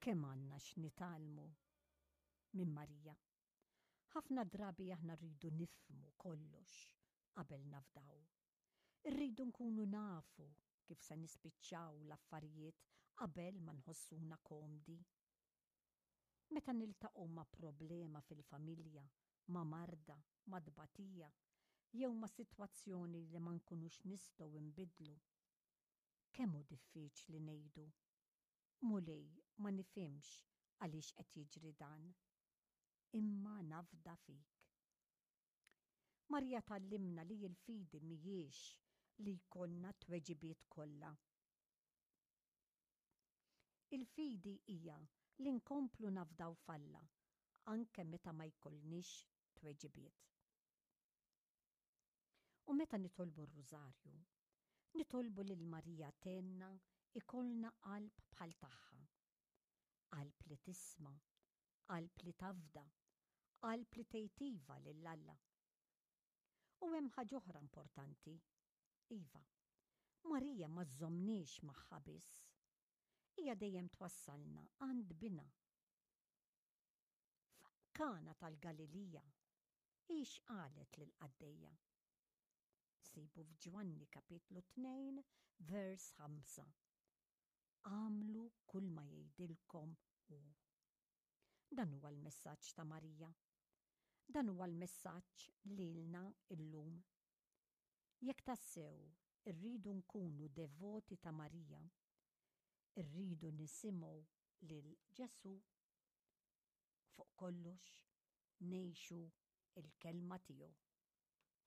Kemm għandna x'nitgħallmu minn Marija. Ħafna drabi aħna rridu nifhmu kollox qabel nafdaw. Irridu nkunu nafu kif se nispiċċaw l-affarijiet qabel ma nħossuna komdi. Meta niltaqgħu ma' problema fil-familja, ma' marda, ma' tbatija, jew ma' sitwazzjoni li ma nkunux nistgħu nbiddlu, kemm hu diffiċli ngħidu, Mulej ma nifhimx għaliex qed jiġri dan, imma nafda fik. Marija tgħallimna li l-fidi mhijiex li jkollna t-tweġibiet kollha. Il-fidi hija li nkomplu nafdaw f'Alla anke meta ma jkollniex tweġibiet. U meta nitolbu r-Rużarju, nitolbu lil Marija tgħinna jkollna qalb bħal tagħha. Qalb li tisma', qalb li tafda, qalb li tgħid iva lil Alla. U hemm ħaġa oħra importanti. Iva, Marija ma żżommniex magħha biss. Hija dejjem twassalna għand Binha. F'Kana tal-Galilija, hi x'qalet lill-qaddejja? Sibu f'Ġwanni kapitlu 2 vers 5. Agħmlu kull ma jgħidilkom hu. Dan huwa l-messaġġ ta' Marija. Dan huwa l-messaġġ lilna illum. Jekk tassew irridu nkunu devoti ta' Marija, irridu nisimgħu lil Ġesù. Fuq kollox ngħixu l-kelma tiegħu.